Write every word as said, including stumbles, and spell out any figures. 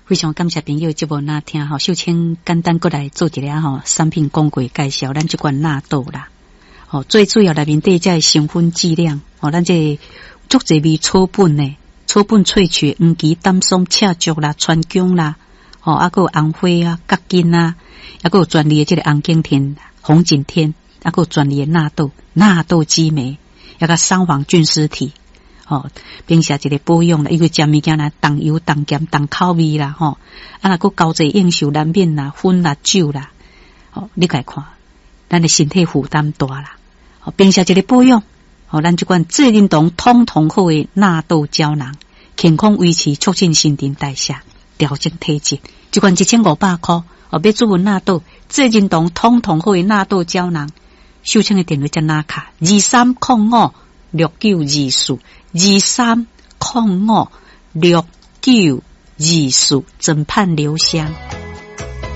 非常感謝朋友節目若聽吼，秀清簡單閣來做一下吼產品廣告介紹，咱這款納豆啦，吼最主要內面底這個成分劑量，吼咱這足濟味草本的，草本萃取黃芪、丹參、赤石啦、川芎啦，吼啊閣有紅花啊、葛根啊，啊閣有專利的這個紅景天、紅景天，啊閣有專利的納豆、納豆激酶，抑閣桑黃菌絲體。吼，平時一個保養啦，因為食物件啦，重油、重鹹、重口味啦，吼，啊若閣交際應酬難免啦，薰啦、酒啦，吼，你共看，咱的身體負擔大啦。吼，平時一個保養，吼，咱這款濟仁堂通通好的納豆膠囊，健康維持、促進新陳代謝、調整體質，這款一千五百箍，哦，買主文納豆，濟仁堂通通好的納豆膠囊，秀清的電話才拿卡，二三空五六九二四。二三空五六九二四，枕畔留香。